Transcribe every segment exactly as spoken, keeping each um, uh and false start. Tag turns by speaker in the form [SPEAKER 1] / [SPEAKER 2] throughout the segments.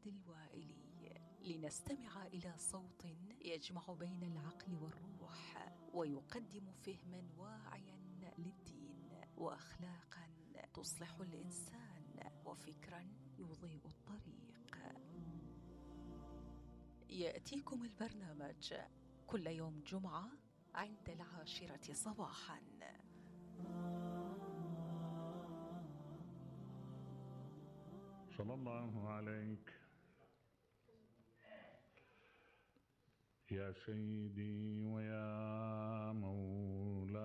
[SPEAKER 1] محمد الوائلي لنستمع إلى صوت يجمع بين العقل والروح ويقدم فهما واعيا للدين وأخلاقا تصلح الإنسان وفكرا يضيء الطريق. يأتيكم البرنامج كل يوم جمعة عند العاشرة صباحا.
[SPEAKER 2] صلى الله عليك يا سيدي ويا مولاي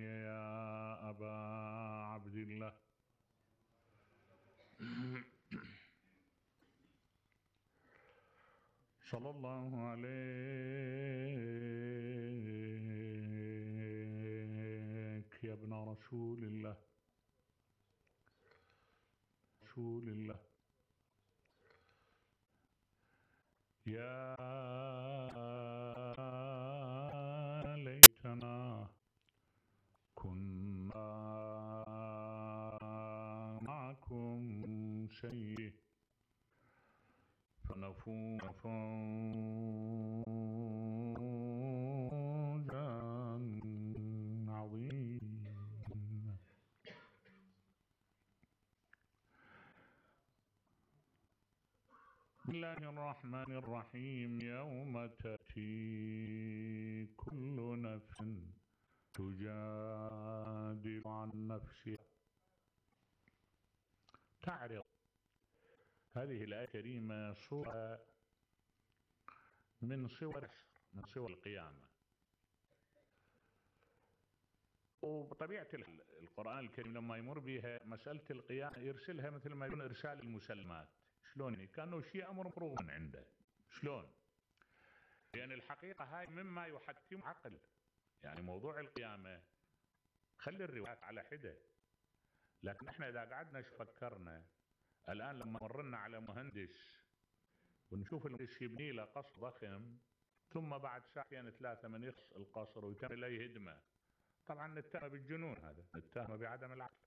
[SPEAKER 2] يا أبا عبد الله صلى الله عليك يا ابن رسول الله رسول الله يا ليتنا كنا معكم شيء فنفوز فوزا عظيما. بسم الله الرحمن الرحيم. يوم تأتي كل نفس تجادل عن نفسها. تعرض هذه الآية الكريمة صورة من صور من صور القيامة، وبطبيعة القرآن الكريم لما يمر بها مسألة القيامة يرسلها مثل ما يكون إرسال المسلمات. شلون يعني؟ كأنه شيء أمر مفروغ من عنده. شلون؟ لأن الحقيقة هاي مما يحتم عقل. يعني موضوع القيامة خلي الروايات على حدة، لكن احنا إذا قعدنا فكرنا الآن لما مرنا على مهندس ونشوف المهندس يبني له قصر ضخم ثم بعد ساعتين ثلاثة من يخلص القصر ويتم له يهدمه، طبعا نتهم بالجنون، هذا نتهم بعدم العقل.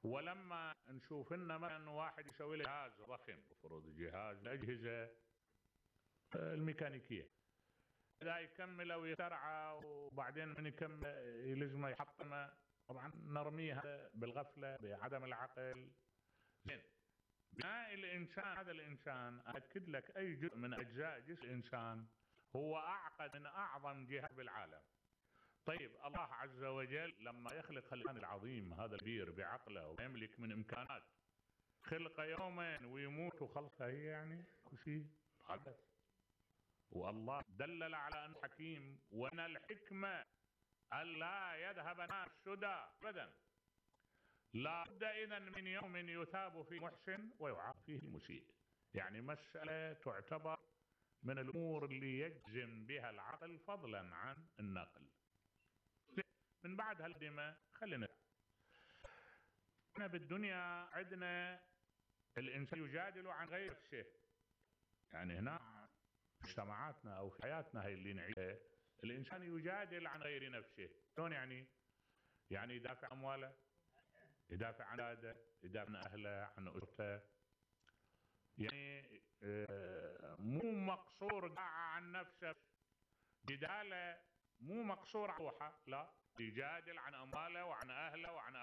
[SPEAKER 2] ولما نشوف لنا مثلا واحد يسوي له جهاز ضخم، المفروض جهاز الأجهزة الميكانيكية، إذا يكمل ويترعى وبعدين من يكمل يلزمه يحطمه، طبعا نرميها بالغفلة بعدم العقل. زين، بناء الإنسان، هذا الإنسان أكد لك أي جزء من أجزاء جسم الإنسان هو أعقد من أعظم جهاز بالعالم. طيب الله عز وجل لما يخلق الإنسان العظيم هذا الكبير بعقله ويملك من إمكانات، خلق يومين ويموت وخلقه هي يعني شيء حدث. والله دلل على أنه حكيم، وأن الحكمة ألا يذهب الناس سدى أبدا، لا بد إذن من يوم يثاب فيه محسن ويعاقب فيه المسيء. يعني مسألة تعتبر من الأمور اللي يجزم بها العقل فضلا عن النقل. من بعد هالدماء خلينا احنا بالدنيا عندنا الإنسان يجادل عن غير نفسه. يعني هنا في مجتمعاتنا أو في حياتنا هاي اللي نعيشها الإنسان يجادل عن غير نفسه. شلون يعني؟ يعني يدافع عن أمواله، يدافع عن أولاده، يدافع عن أهله، عن أسرته. يعني مو مقصور عن نفسه، جداله مو مقصور على روحه، لا، يجادل عن أمواله وعن أهله وعن